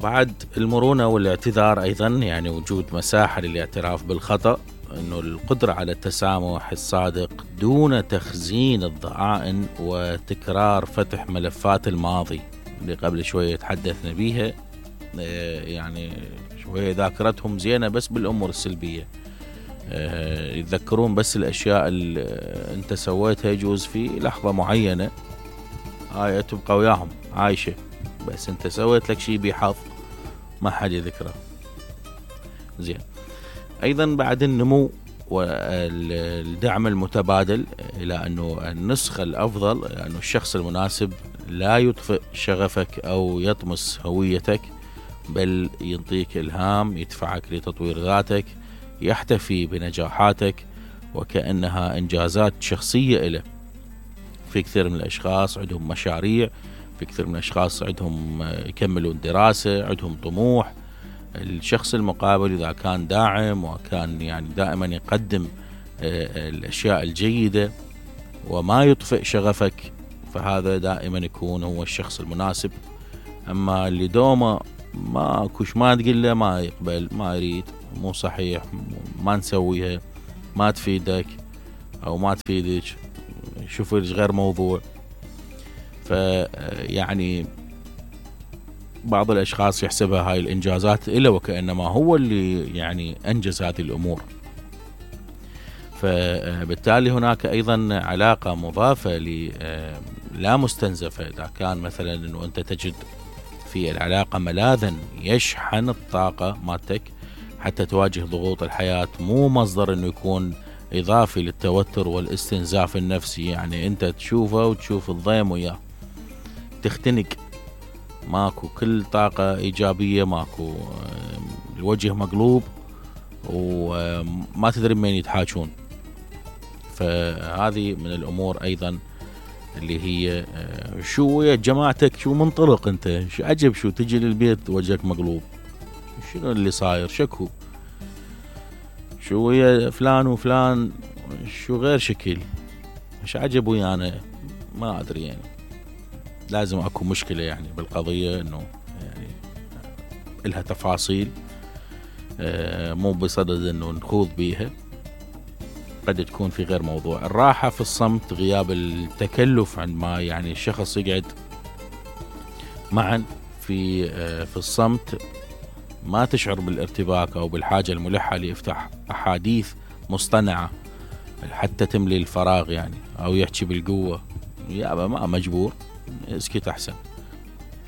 بعد المرونة والاعتذار أيضا، يعني وجود مساحة للاعتراف بالخطأ، أنه القدرة على التسامح الصادق دون تخزين الضغائن وتكرار فتح ملفات الماضي اللي قبل شوية تحدثنا بيها. يعني شوية ذاكرتهم زينة بس بالأمور السلبية، يتذكرون بس الأشياء اللي أنت سويتها يجوز في لحظة معينة، هاي تبقى وياهم عايشة، بس أنت سويت لك شيء بحظ ما حد يذكره. زين. أيضا بعد النمو والدعم المتبادل، إلى أنه النسخة الأفضل، أنه الشخص المناسب لا يطفئ شغفك أو يطمس هويتك، بل ينطيك إلهام، يدفعك لتطوير ذاتك، يحتفي بنجاحاتك وكأنها إنجازات شخصية إله. في كثير من الأشخاص عندهم مشاريع، في كثير من الأشخاص عندهم يكملون دراسة، عندهم طموح. الشخص المقابل إذا كان داعم وكان يعني دائما يقدم الأشياء الجيدة وما يطفئ شغفك، فهذا دائما يكون هو الشخص المناسب. أما اللي دوما ما كوش ما تقول له ما يقبل، ما يريد، مو صحيح، ما نسويها، ما تفيدك أو ما تفيدك، شوف غير موضوع. فيعني بعض الأشخاص يحسبها هاي الإنجازات إلا وكأنما هو اللي يعني أنجز هذه الأمور. فبالتالي هناك أيضا علاقة مضافة لا مستنزفة. إذا كان مثلا أنه أنت تجد في العلاقة ملاذا يشحن الطاقة مالتك حتى تواجه ضغوط الحياة، مو مصدر أنه يكون إضافي للتوتر والاستنزاف النفسي، يعني أنت تشوفه وتشوف الضيم وياه تختنق، ماكو كل طاقة إيجابية، ماكو، الوجه مقلوب وما تدري من يتحاجون. فهذه من الأمور أيضا اللي هي شو يا جماعتك، شو منطلق أنت، شو عجب، شو تجي للبيت وجهك مقلوب، شنو اللي صاير، شكو، شو يا فلان وفلان، شو غير شكل، مش عجب ويانا، ما أدري، يعني لازم أكو مشكلة يعني بالقضية، إنه يعني إلها تفاصيل، مو بصدد إنه نخوض بيها، قد تكون في غير موضوع. الراحة في الصمت، غياب التكلف عندما يعني الشخص يقعد معا في الصمت، ما تشعر بالارتباك أو بالحاجة الملحة ليفتح أحاديث مصطنعة حتى تملي الفراغ يعني، أو يحكي بالقوة، يابا ما مجبور، اسكت أحسن.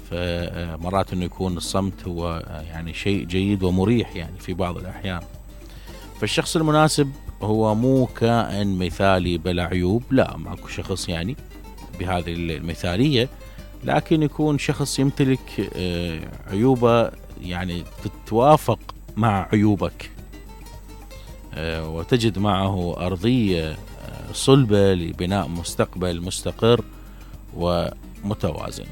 فمرات إنه يكون الصمت هو يعني شيء جيد ومريح يعني في بعض الأحيان. فالشخص المناسب هو مو كائن مثالي بلا عيوب، لا، ماكو شخص يعني بهذه المثالية، لكن يكون شخص يمتلك عيوبه يعني تتوافق مع عيوبك، وتجد معه أرضية صلبة لبناء مستقبل مستقر ومتوازن.